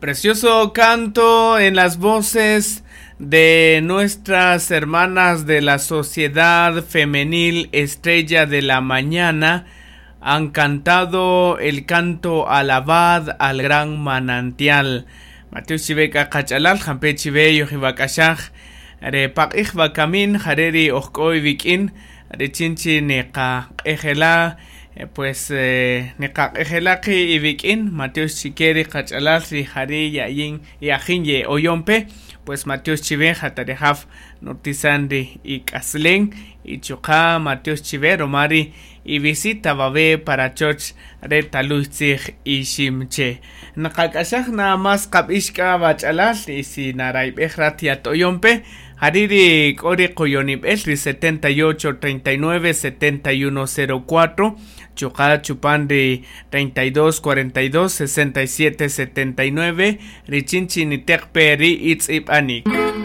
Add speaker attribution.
Speaker 1: Precioso canto en las voces de nuestras hermanas de la Sociedad Femenil Estrella de la Mañana. Han cantado el canto Alabad al gran manantial. Mateo Chiveka Kachalal, Jampe Chive, Yojiwakashaj, Re Pakij Bakamin, Jareri Ojkoi Vikin, Re Chinchi Neqa Ejela, pues Neqa Ejelaki y Vikin, Mateo Chikeri Kachalal, Ri Jari Yayin, Yajin Ye Oyompe, pues Mateo Chive, Jatarejaf, Nortizandi y Kaslen, y Chuka, Mateo Chive, Romari, y visita babe para choch re talutzij iximche. Naqak'axaj nada más qab'ixk'a bach'alal y si narayb'ej rat yatoyompe hariri k'ori qoyonib'el ri 78 39 71 04 chuqa chupan ri 32 42 67 79 richin chi niteqpe ri itz'ib'anik.